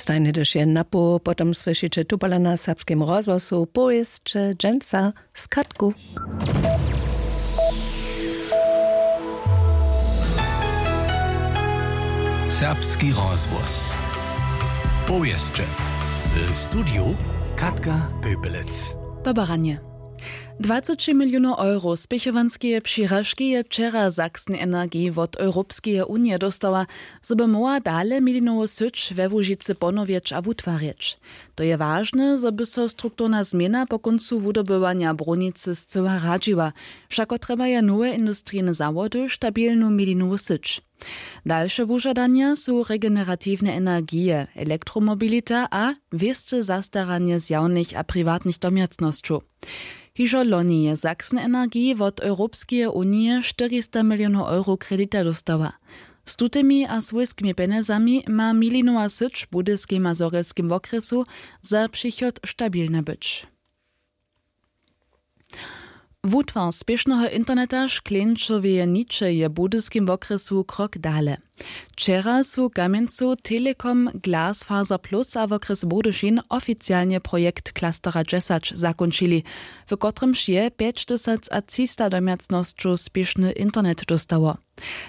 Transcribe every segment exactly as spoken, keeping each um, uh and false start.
Stajnje tež je napoł potom słyšiće tupala na serbskim rozhłosu powěsće dźensa z katku. Serbski rozhłos. Powěsće. W studiju Katka Pöpelec. Dobaranje. Dwaceći milionow euro spěchowanskeje přiražki je wčera Sachsen Energie wot Europskeje unije dóstała, zo by móhła dale milinowu syć we Łužicy ponowjeć a wutwarjeć. To je wažne, zo by so strukturna změna po kóncu wudobywanja brunicy scyła radźiła. Wšako trjebaja nowe industrijne zawody stabilnu milinowu syć. Dalše wužadanja su regeneratiwne energije, elektromobilita a wěste zastaranje zjawnych a priwatnych domjacnosćow. Hižo loni je Sachsen Energie wot Europskeje unije štyrista milionow euro kredita dóstała. Z tutymi a swójskimi pjenjezami ma milinowa syć w budyskej mazorjelskim wokrjesu za přichod stabilna być. Wutwar spěšneho interneta škleńčoweje niče je w budyskim wokrjesu krok dale. Wčera su kamjencow Telekom, Glasfaser Plus a wokrjes Budyšin oficialnje projekt Klastera dźesać zakónčili, w kotrymž je pjećtysacatřista domjacnosćow spěšny internet dóstało.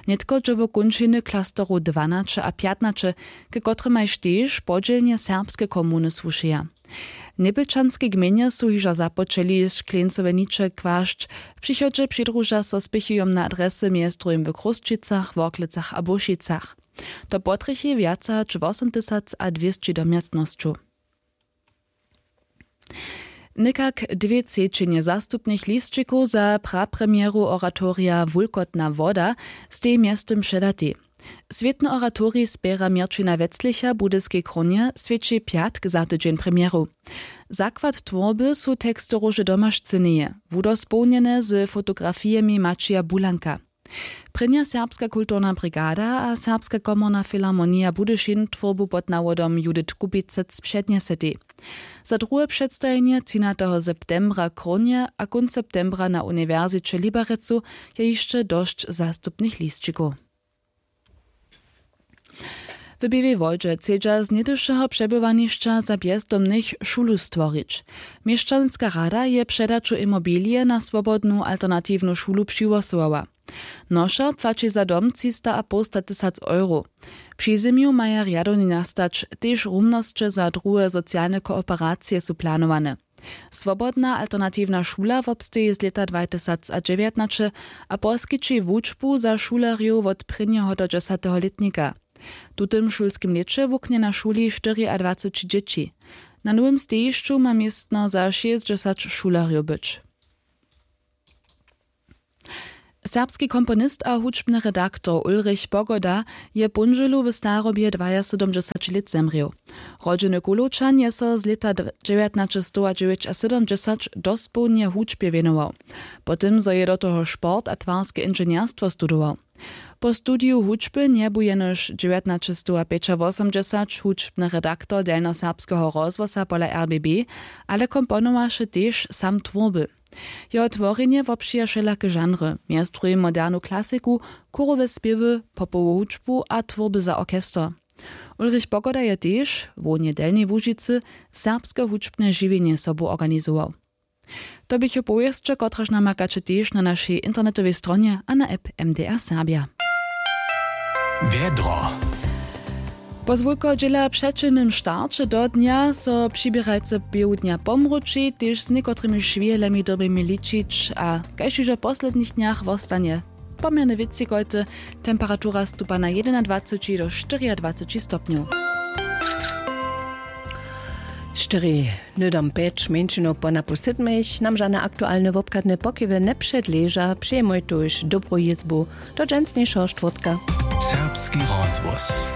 Nětko dźe wo kónčiny klasterow dwanaće a pjatnaće, ke kotrymajž tež podźělnje serbske komuny słušeja. W njebjelčanskej gmejnje su hižo započeli škleńcowe niče kłašć. W přichodźe přidruža so spěchujom na adresy mjez druhim w Chrósćicach, Worklecach a Bušicach. To potrjechi wjace hač wosomtysacadwěsći domjacnosćow. Někak dwě třećinje zastupnych lisćikow za prapremjeru oratorija Wulkotna woda stej mjeztym předatej. Swětny oratorij spěra Měrćina Weclicha w Budyskej Krónje swjeći pjatk za tydźeń premjeru. Zakład twórby su teksty Róže Domašcyneje, wudospołnjene z fotografijemi Maćija Bulanka. Prěnja Serbska kulturna brigada a Serbska komorna filharmonija Budyšin twórbu pod nawodom Judith Kubicec přednjesetej. Za druhe předstajenje třinateho septembra w Krónje a kónc septembra na Uniwersiće w Liberecu je hišće dosć zastupnych lisćikow. W Běłej Wodźe chcedźa z něhdyšeho přebywanišća za bjezdomnych šulu stworić. Měšćanska rada je předaću imobilije na swobodnu alternatiwnu šulu přihłosowała. Noša płaći za dom třista a połsta tysac euro. Při zymju maja rjadownje nastać, tež rumnosće za druhe socialne kooperacije su planowane. Swobodna alternatiwna šula wobsteji z lěta dwatysacadźewjatnaće a poskići wučbu za šulerjow wot prěnjeho do dźesateho lětnika. W tutym šulskim lěće wuknje na šuli štyriadwaceći dźěći. Na nowym stejišću ma městno za šěsćdźesać šulerjow być. Serbski komponist a hudźbny redaktor Ulrich Pogoda je w póndźelu w starobje dwajasydomdźesać lět zemrěł. Rodźeny Kulowčan je so z lěta dźewjatnaćestowadźewjećasydomdźesać dospołnje hudźbje wěnował. Po tym, zo je do toho sport a twarske inženjerstwo studował. Po studiju hudźby njebu jenož dźewjatnaćestowapjećawosomdźesać hudźbny redaktor delnjoserbskeho rozhłosa pola R B B, ale komponowaše tež sam twórby. Jeho tworjenje wobpřija wšelake žanry, mjez druhim modernu klasiku, chórowe spěwy, popowu hudźbu a twórby za orchester. Ulrich Pogoda je tež, hłowneje w Delnjej Łužicy, serbske hudźbne žiwjenje sobu organizował. To běchu powěsće, kotrež namakaće tež na našej internetowej stronje a na app M D R Serbja. Wjedro. Po zwulkeho dźěla přećelnym starće do dnja so přiběrajcy połdnja pomruči, tež z někotrymiž wěhelemi dyrbimy ličić a kaž hižo w poslednich dnjach wostanje poměrnje wětři kojty. Temperatura stupa na jedynadwaceći do štyriadwaceći stopnjow. Štyri, hnydom pjeć mjeńšinow po napoł sydmich nam žane aktualne wobchadne pokiwy njepředleža. Přijemoj tuž dobru jězbu do dźensnišeho štwórtka. Serbski rozhłos.